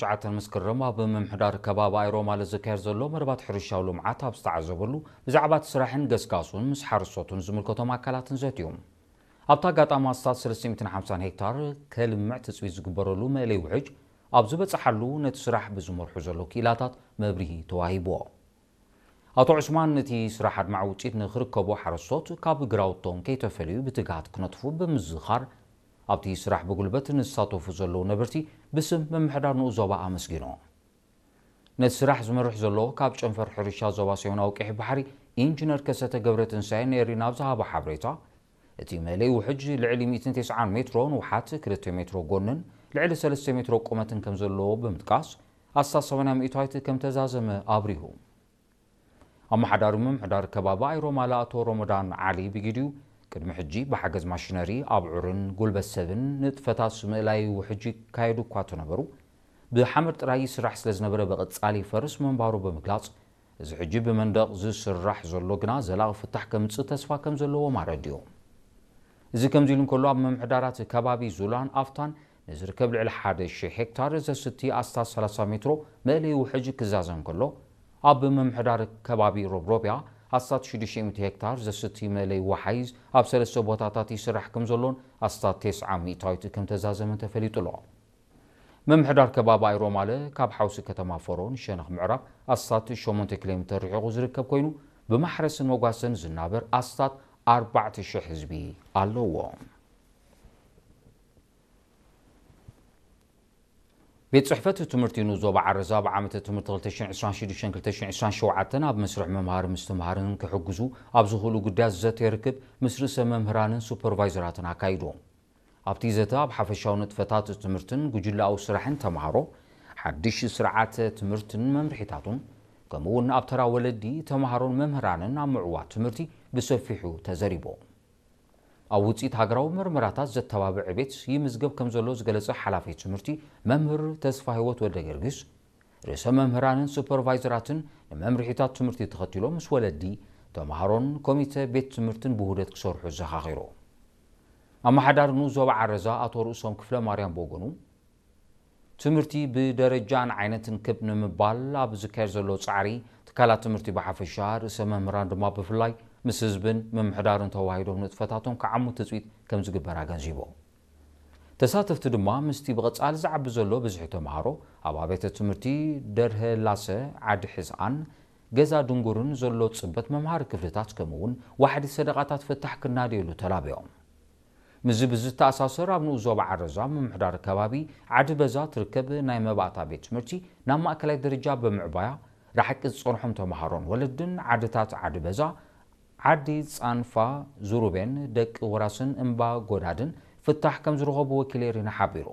ትሽዓተ መስከረም ኣብ ምምሕዳር ከባቢ ኣይሮማለ ዝካየድ ዘሎ መደባት ሕርሻዊ ልምዓት ኣብ ዝተዓዘበሉ፣ ብዛዕባ እቲ ስራሕን ገስጋሱን ምስ ሓረስቶትን ዝምልከቶም ኣካላትን ዘትዮም። ኣብቲ ኣጋጣሚ ኣስታት ሰለስተ ሚእትን ሓምሳን ሄክታር ከልምዕ ትፅቢት ዝግበረሉ መእለይ ውሕጅ ኣብ ዝበፅሓሉ፣ ነቲ ስራሕ ብዝመርሑ ዘሎ ክኢላታት መብርሂ ተዋሂብዎ። ኣቶ ዑስማን፣ ነቲ ስራሕ ኣድማዒ ውፅኢት ንክርከቦ ሓረስቶት ካብ ግራውቶም ከይተፈለዩ ብትግሃት ክነጥፉ ብምዝኻር፣ ኣብቲ ስራሕ ብጉልበት ንዝሳተፉ ዘለዉ ነበርቲ ብስም ምምሕዳር ንኡስ ዞባ ኣመስጊኑ። ነቲ ስራሕ ዝመርሕ ዘሎ ካብ ጨንፈር ሕርሻ ዞባ ሰሜናዊ ቀይሕ ባሕሪ ኢንጂነር ከሰተ ገብረትንሳኤ ነሪ ናብ ዝሃቦ ሓበሬታ፣ እቲ መእለይ ውሕጅ ልዕሊ ሚእትን ተስዓን ሜትሮ ንውሓት፣ ክልተ ሜትሮ ጎንን ልዕሊ ሰለስተ ሜትሮ ቁመትን ከም ዘለዎ ብምጥቃስ፣ ኣስታት ሰማንያ ሚእታዊት ከም ተዛዘመ ኣብሪሁ። ኣመሓዳሪ ምምሕዳር ከባቢ ኣይሮማለ ኣቶ ሮሞዳን ዓሊ ብጊዲኡ፣ ቅድሚ ሕጂ ብሓገዝ ማሽነሪ ኣብዑርን ጉልበት ሰብን ንጥፈታት ምእላይ ውሕጅ ይካየዱ እኳ እንተነበሩ፣ ብሓመድ ጥራይ ይስራሕ ስለ ዝነበረ ብቐጻሊ ይፈርስ ምንባሩ ብምግላጽ፣ እዚ ሕጂ ብመንደቕ ዝስራሕ ዘሎ ግና ዘላቒ ፍታሕ ከምጽእ ተስፋ ከም ዘለዎም ኣረዲኡ። እዚ ከምዚ ኢሉ እንከሎ፣ ኣብ ምምሕዳራት ከባቢ ዙላን ኣፍታን ንዝርከብ ልዕሊ ሓደ ሺሕ ሄክታር ዘስቲ ኣስታት ሰላሳ ሜትሮ መእለይ ውሕጅ ክዛዘም ከሎ፣ ኣብ ምምሕዳር ከባቢ ሮብሮብያ ኣስታት ሽዱሽተ ሚእቲ ሄክታር ዘስቲ መእለይ ወሓይዝ ኣብ ሰለስተ ቦታታት ይስራሕ ከም ዘሎን ኣስታት ተስዓ ሚእታዊት ከም ተዛዘመን ተፈሊጡ ኣሎ። ምምሕዳር ከባቢ ኣይሮማለ ካብ ሓውሲ ከተማ ፈሮ ንሸነኽ ምዕራብ ኣስታት ሸሞንተ ኪሎ ሜትር ርሒቑ ዝርከብ ኮይኑ፣ ብማሕረስን መጓሰን ዝናበር ኣስታት ኣርባዕተ ሺሕ ህዝቢ ኣለዎ። ቤት ጽሕፈት ትምህርቲ ንኡስ ዞባ ዓረዛ ኣብ ዓመተ ትምህርቲ ክልተ ሽሕን ዕስራን ሽዱሽተን ክልተ ሽሕን ዕስራን ሸውዓተን ኣብ መስርሕ ምምሃር ምስትምሃርን ክሕግዙ ኣብ ዝኽእሉ ጉዳያት ዘተ ርክብ ምስ ርእሰ መምህራንን ሱፐርቫይዘራትን ኣካይዱ። ኣብቲ ዘተ ኣብ ሓፈሻዊ ንጥፈታት ትምህርትን ጉጅለኣዊ ስራሕን ተምሃሮ፣ ሓድሽ ስርዓተ ትምህርትን መምርሒታቱን፣ ከምኡ እውን ኣብ ተራ ወለዲ፣ ተምሃሮን መምህራንን ኣብ ምዕዋት ትምህርቲ ብሰፊሑ ተዘሪቡ። ኣብ ውፅኢት ሃገራዊ መርመራታት ዘተባብዕ ቤት ይምዝገብ ከም ዘሎ ዝገለጸ ሓላፊ ትምህርቲ መምህር ተስፋ ህይወት ወልደ ጊዮርጊስ፣ ርእሰ መምህራንን ሱፐርቫይዘራትን ንመምርሒታት ትምህርቲ ተኸቲሎም ምስ ወለዲ፣ ተምሃሮን ኮሚተ ቤት ትምህርትን ብውህደት ክሰርሑ ዘኻኺሩ። ኣመሓዳሪ ንኡስ ዞባ ዓረዛ ኣቶ ርእሶም ክፍለ ማርያም ብወገኑ፣ ትምህርቲ ብደረጃን ዓይነትን ክብ ንምባል ኣብ ዝካየድ ዘሎ ጻዕሪ፣ ትካላት ትምህርቲ ብሓፈሻ፣ ርእሰ መምህራን ድማ ብፍላይ፣ ምስ ህዝብን ምምሕዳርን ተዋሂዶም ንጥፈታቶም ክዓሙ ትጽቢት ከም ዝግበር ኣገንዚቡ። ተሳተፍቲ ድማ ምስቲ ብቐጻሊ ዝዓቢ ዘሎ ብዝሒ ተምሃሮ ኣብ ኣብያተ ትምህርቲ ደርሀ ላሰ፣ ዓዲ ሕዝኣን፣ ገዛ ድንጉርን ዘሎ ጽበት መምሃሪ ክፍልታት ከምኡ እውን ዋሕዲ ሰደቓታት ፍታሕ ክናደየሉ ተላብዮም። ምስዚ ብዝተኣሳሰር ኣብ ንኡስ ዞባ ዓረዛ ምምሕዳር ከባቢ ዓዲ በዛ ትርከብ ናይ መባእታ ቤት ትምህርቲ ናብ ማእከላይ ደረጃ ብምዕባያ ርሓቂ ዝጸንሖም ተምሃሮን ወለድን ዓድታት ዓዲ በዛ፣ ዓዲ ጻንፋ፣ ዙሩቤን፣ ደቂ ወራስን እምባ ጎዳድን ፍታሕ ከም ዝረኸቡ ወኪል ኤሪና ሓቢሩ።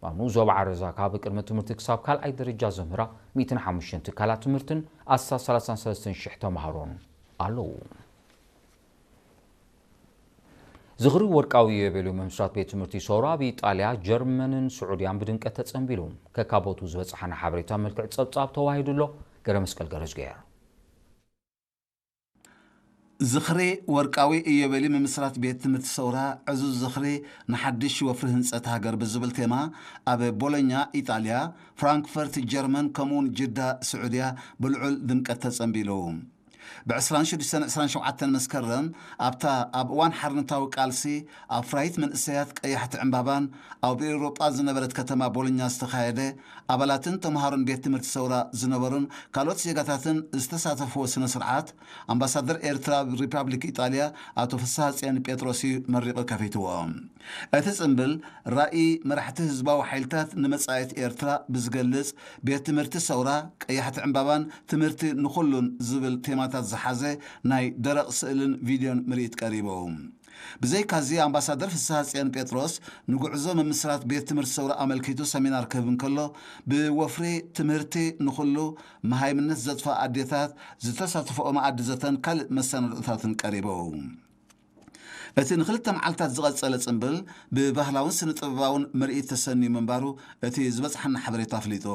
ኣብ ንኡስ ዞባ ዓረዛ ካብ ቅድመ ትምህርቲ ክሳብ ካልኣይ ደረጃ ዘምህራ ሚእትን ሓሙሽተን ትካላት ትምህርትን ኣስታት ሰላሳን ሰለስተን ሽሕ ተምሃሮን ኣለዉ። ዝኽሪ ወርቃዊ ኢዮቤልዩ ምምስራት ቤት ትምህርቲ ሰውራ ኣብ ኢጣልያ፣ ጀርመንን ስዑድያን ብድምቀት ተጸንቢሉ። ከካቦቱ ዝበጽሓና ሓበሬታ መልክዕ ጸብጻብ ተዋሂዱ ኣሎ። ገረ መስቀል ገረዝገየር። ዝኽሪ ወርቃዊ ኢዮቤልዩ ምምስራት ቤት ትምህርቲ ሰውራ ዕዙዝ ዝኽሪ ንሓድሽ ወፍሪ ህንጸት ሃገር ብዝብል ቴማ ኣብ ቦሎኛ ኢጣልያ፣ ፍራንክፈርት ጀርመን ከምኡውን ጅዳ ስዑድያ ብልዑል ድምቀት ተጸንቢሉ። ብ ዕስራን ሽዱሽተን ዕስራን ሸውዓተን መስከረም ኣብታ ኣብ እዋን ሓርነታዊ ቃልሲ ኣፍራይት መንእሰያት ቀያሕቲ ዕምባባን ኣብ ኤውሮጳ ዝነበረት ከተማ ቦሎኛ ዝተኻየደ ኣባላትን ተምሃሮን ቤት ትምህርቲ ሰውራ ዝነበሩን ካልኦት ዜጋታትን ዝተሳተፍዎ ስነ ስርዓት ኣምባሳደር ኤርትራ ኣብ ሪፓብሊክ ኢጣልያ ኣቶ ፍስሃጽዮን ጴጥሮስ እዩ መሪቑ ከፊትዎ። እቲ ጽምብል ራእይ መራሕቲ ህዝባዊ ሓይልታት ንመጻኢት ኤርትራ ብዝገልጽ ቤት ትምህርቲ ሰውራ ቀያሕቲ ዕምባባን ትምህርቲ ንኹሉን ዝብል ቴማታት ዝሓዘ ናይ ደረቕ ስእልን ቪድዮን ምርኢት ቀሪቡ። ብዘይካዚ ኣምባሳደር ፍስሃጽዮን ጴጥሮስ ንጉዕዞ ምምስራት ቤት ትምህርቲ ሰውራ ኣመልኪቱ ሰሚናር ክህብ እንከሎ፣ ብወፍሪ ትምህርቲ ንኹሉ፣ መሃይምነት ዘጥፍኣ ኣዴታት ዝተሳተፍኦ መኣዲ ዘተን ካልእ መሰናድኦታትን ቀሪቡ። እቲ ንክልተ መዓልታት ዝቐጸለ ጽምብል ብባህላውን ስነ-ጥበባውን ምርኢት ተሰንዩ ምንባሩ እቲ ዝበጽሓና ሓበሬታ ኣፍሊጡ።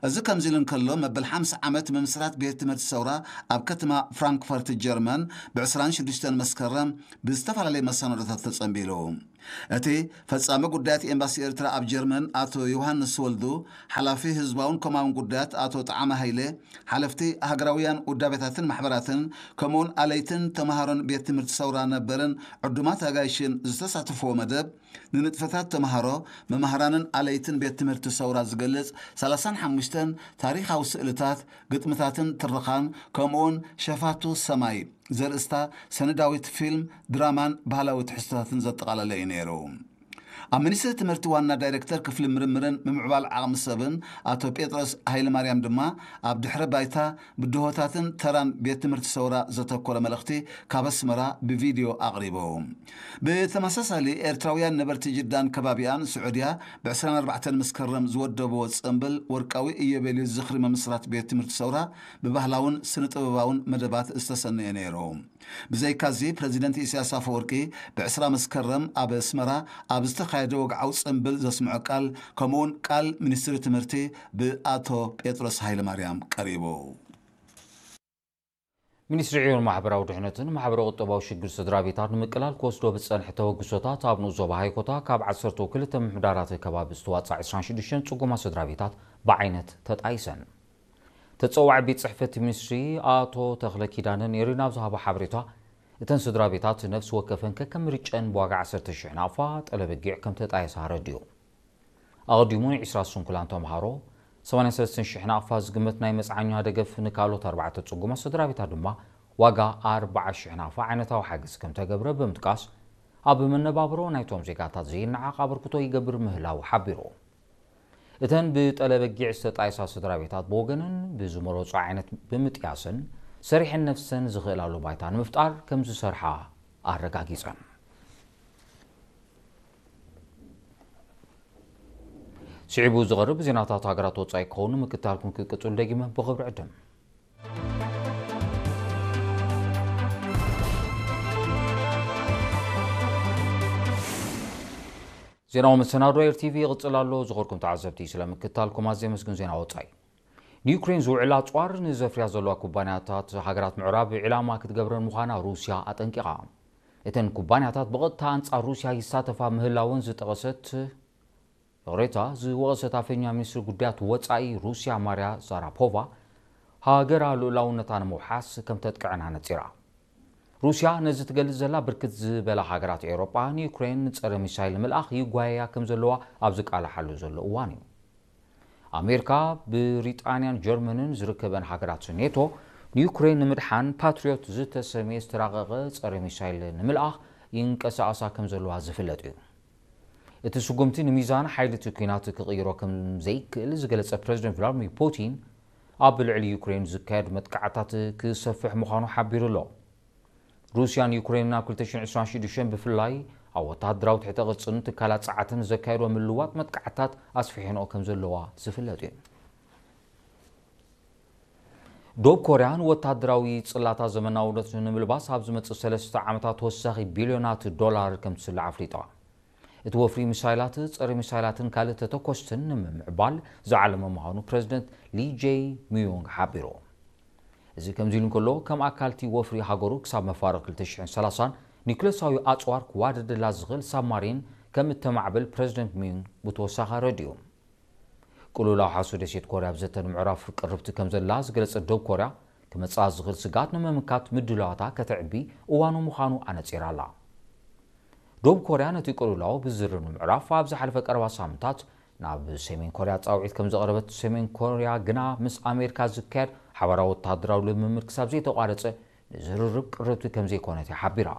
እዚ ከምዚ ኢሉ እንከሎ፣ መበል ሓምሳ ዓመት ምምስራት ቤት ትምህርቲ ሰውራ ኣብ ከተማ ፍራንክፈርት ጀርመን ብ ዕስራን ሽዱሽተን መስከረም ብዝተፈላለየ መሰናዶታት ተጸንቢሉ። እቲ ፈጻሚ ጉዳያት ኤምባሲ ኤርትራ ኣብ ጀርመን ኣቶ ዮሃንስ ወልዱ፣ ሓላፊ ህዝባውን ኮማውን ጉዳያት ኣቶ ጠዓመ ሃይለ፣ ሓለፍቲ ሃገራውያን ውዳቤታትን ማሕበራትን፣ ከምኡውን ኣለይትን ተምሃሮን ቤት ትምህርቲ ሰውራ ነበርን ዕዱማት ኣጋይሽን ዝተሳተፍዎ መደብ፣ ንንጥፈታት ተምሃሮ፣ መማህራንን ኣለይትን ቤት ትምህርቲ ሰውራ ዝገልጽ ሰላሳን ሓሙሽተን ታሪኻዊ ስእልታት፣ ግጥምታትን ትረኻን፣ ከምኡውን ሸፋቱ ሰማይ ዘርእስታ ሰነዳዊት ፊልም፣ ድራማን ባህላዊ ትሕዝቶታትን ዘጠቓለለ እዩ ነይሩ። ኣብ ሚኒስትሪ ትምህርቲ ዋና ዳይሬክተር ክፍሊ ምርምርን ምምዕባል ዓቕሚ ሰብን ኣቶ ጴጥሮስ ሃይለማርያም ድማ፣ ኣብ ድሕረ ባይታ፣ ብድሆታትን ተራን ቤት ትምህርቲ ሰውራ ዘተኮረ መልእኽቲ ካብ ኣስመራ ብቪድዮ ኣቕሪቡ። ብተመሳሳሊ፣ ኤርትራውያን ነበርቲ ጅዳን ከባቢኣን ስዑድያ ብ ዕስራን ኣርባዕተን መስከረም ዝወደብዎ ጽምብል ወርቃዊ ኢዮቤልዩ ዝኽሪ ምምስራት ቤት ትምህርቲ ሰውራ ብባህላውን ስነ-ጥበባውን መደባት ዝተሰነየ ነይሩ። ብዘይካዚ፣ ፕረዚደንት ኢሳያስ ኣፈወርቂ ብ ዕስራ መስከረም ኣብ ኣስመራ ኣብ ዝተኻየደ ወግዓዊ ጽምብል ዘስምዖ ቃል፣ ከምኡውን ቃል ሚኒስትሪ ትምህርቲ ብኣቶ ጴጥሮስ ሃይለማርያም ቀሪቡ። ሚኒስትሪ ዕዮን ማሕበራዊ ድሕነትን ማሕበረ ቁጠባዊ ሽግር ስድራ ቤታት ንምቅላል ክወስዶ ብዝጸንሐ ተበግሶታት፣ ኣብ ንኡስ ዞባ ሃይኮታ ካብ ዓሰርተ ክልተ ምምሕዳራት ከባቢ ዝተዋጽኣ ዕስራን ሽዱሽተን ጽጉማት ስድራ ቤታት ብዓይነት ተጣይሰን። ተጸዋዒ ቤት ጽሕፈት ሚኒስትሪ ኣቶ ተኽለ ኪዳነ ኔሪ ናብ ዝሃቦ ሓበሬታ፣ እተን ስድራ ቤታት ነፍሲ ወከፈን ከከም ምርጨን ብዋጋ ዓሰርተ ሽሕ ናቕፋ ጠለበጊዕ ከም ተጣየሳ ኣረዲኡ። ኣቐዲሙ ንዒስራ ስንኩላን ተምሃሮ፣ ሰማንያን ሰለስተን ሽሕ ናቕፋ ዝግመት ናይ መጽዓኛ ደገፍ፣ ንካልኦት ኣርባዕተ ጽጉማት ስድራ ቤታት ድማ ዋጋ ኣርብዓ ሽሕ ናቕፋ ዓይነታዊ ሓገዝ ከም ተገብረ ብምጥቃስ፣ ኣብ መነባብሮ ናይቶም ዜጋታት ዘይነዓቕ ኣበርክቶ ይገብር ምህላው ሓቢሩ። እተን ብጠለበጊዕ ዝተጣየሳ ስድራ ቤታት ብወገነን ብዝመረጾ ዓይነት ብምጥያስን ሰሪሐን ነፍሰን ዝኽእላሉ ባይታ ንምፍጣር ከም ዝሰርሓ ኣረጋጊጸን። ስዒቡ ዝቐርብ ዜናታት ሃገራት ወጻኢ ክኸውን ምክትታልኩም ክቅጽሉ ደጊመ ብኽብሪ ዕድም። ዜናዊ መሰናዶ ኤር ቲቪ ይቕጽል ኣሎ። ዝኾርኩም ተዓዘብቲ፣ ስለ ምክትታልኩም ኣዝየ ኣመስግን። ዜና ወጻኢ። ንዩክሬን ዝውዕል ኣጽዋር ንዘፍርያ ዘለዋ ኩባንያታት ሃገራት ምዕራብ ዒላማ ክትገብረን ምዃና ሩስያ ኣጠንቂቓ። እተን ኩባንያታት ብቐጥታ ኣንጻር ሩስያ ይሳተፋ ምህላወን ዝጠቐሰት፣ ይቕሬታ፣ ዝወቐሰት ኣፈኛ ሚኒስትሪ ጉዳያት ወጻኢ ሩስያ ማርያ ዛራፖቫ፣ ሃገራ ልኡላውነታ ንምውሓስ ከም ተጥቅዕን ኣነጺራ። ሩስያ ነዚ ትገልጽ ዘላ፣ ብርክት ዝበላ ሃገራት ኤውሮጳ ንዩክሬን ጸረ ሚሳይል ንምልኣኽ ይጓየያ ከም ዘለዋ ኣብ ዝቃላሓሉ ዘሎ እዋን እዩ። ኣሜሪካ፣ ብሪጣንያን ጀርመንን ዝርከበን ሃገራት ኔቶ፣ ንዩክሬን ንምድሓን ፓትሪዮት ዝተሰምየ ዝተራቐቐ ጸረ ሚሳይል ንምልኣኽ ይንቀሳቐሳ ከም ዘለዋ ዝፍለጥ እዩ። እቲ ስጉምቲ ንሚዛን ሓይሊ እቲ ኲናት ክቕይሮ ከም ዘይክእል ዝገለጸ ፕረዚደንት ቭላድሚር ፑቲን፣ ኣብ ልዕሊ ዩክሬን ዝካየድ መጥቃዕታት ክሰፍሕ ምዃኑ ሓቢሩ ኣሎ። ሩስያን ዩክሬንን ኣብ ክልተ ሽሕን ዕስራን ሽዱሽተን ብፍላይ ኣብ ወተሃደራዊ ትሕተ ቅርጽን ትካላት ጸዓትን ዘካየዶ ምልዋጥ መጥቃዕታት ኣስፊሐንኦ ከም ዘለዋ ዝፍለጥ እዩ። ደቡብ ኮርያ ንወተሃደራዊ ጽላታ ዘመናውነት ንምልባስ ኣብ ዝመጽእ ሰለስተ ዓመታት ተወሳኺ ቢልዮናት ዶላር ከም ትስልዕ ኣፍሊጣ። እቲ ወፍሪ ሚሳይላት፣ ጸረ ሚሳይላትን ካልእ ተተኮስትን ንምምዕባል ዝዓለመ ምዃኑ ፕረዚደንት ሊ ጄይ ሚዩንግ ሓቢሩ። እዚ ከምዚ ኢሉ እንከሎ፣ ከም ኣካል እቲ ወፍሪ ሃገሩ ክሳብ መፋርቕ ክልተ ሽሕን ሰላሳን ኒኩለሳዊ ኣጽዋር ክዋደደላ ዝኽእል ሳብማሪን ከም እተማዕብል ፕረዚደንት ሚዩንግ ብተወሳኺ ኣረዲኡ። ቅልውላው ሓሱ ደሴት ኮርያ ኣብ ዘተ ንምዕራፍ ቅርብቲ ከም ዘላ ዝገለጸት ደቡብ ኮርያ፣ ክመጽኣ ዝኽእል ስግኣት ንምምካት ምድላዋታ ከተዕቢ እዋኑ ምዃኑ ኣነጺራ ኣላ። ደቡብ ኮርያ ነቲ ቅልውላው ብዝርርብ ንምዕራፍ ኣብ ዝሓለፈ ቀረባ ሳምንታት ናብ ሰሜን ኮርያ ጻውዒት ከም ዘቕረበት፣ ሰሜን ኮርያ ግና ምስ ኣሜሪካ ዝካየድ ሓባራዊ ወተሃደራዊ ልምምድ ክሳብ ዘይተቋረጸ ንዝርርብ ቅርብቲ ከም ዘይኮነት እያ ሓቢራ።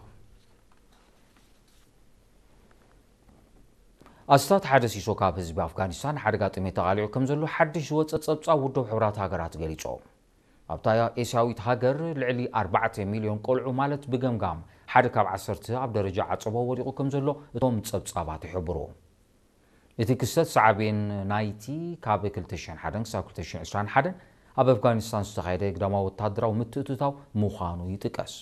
ኣስታት ሓደ ሲሶ ካብ ህዝቢ ኣፍጋኒስታን ሓደጋ ጥሜት ተቓሊዑ ከም ዘሎ ሓድሽ ዝወጸ ጸብጻብ ውድብ ሕቡራት ሃገራት ገሊጹ። ኣብታ ኤስያዊት ሃገር ልዕሊ ኣርባዕተ ሚልዮን ቆልዑ፣ ማለት ብገምጋም ሓደ ካብ ዓሰርተ ኣብ ደረጃ ዓጸቦ ወዲቑ ከም ዘሎ እቶም ጸብጻባት ይሕብሩ። እቲ ክስተት ሳዕቤን ናይቲ ካብ ክልተ ሽሕን ሓደን ክሳብ ክልተ ሽሕን ዕስራን ሓደን ኣብ ኣፍጋኒስታን ዝተኻየደ ግዳማዊ ወተሃደራዊ ምትእትታው ምዃኑ ይጥቀስ።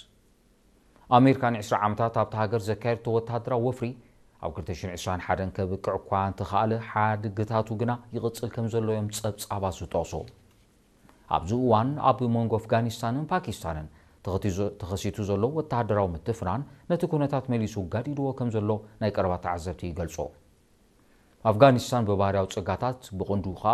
ኣሜሪካ ንዕስራ ዓመታት ኣብታ ሃገር ዘካየደቶ ወተሃደራዊ ወፍሪ ኣብ ክልተ ሽሕን ዕስራን ሓደን ከብቅዕ እኳ እንተኸኣለ፣ ሓድግታቱ ግና ይቕጽል ከም ዘሎ እዮም ጸብጻባት ዝጠቕሱ። ኣብዚ እዋን ኣብ መንጎ ኣፍጋኒስታንን ፓኪስታንን ተኸቲዞ-፣ ተኸሲቱ ዘሎ ወተሃደራዊ ምትፍናን ነቲ ኩነታት መሊሱ ጋዲድዎ ከም ዘሎ ናይ ቀረባ ተዓዘብቲ ይገልጹ። ኣፍጋኒስታን ብባህርያዊ ጸጋታት ብቕንዱ ኸኣ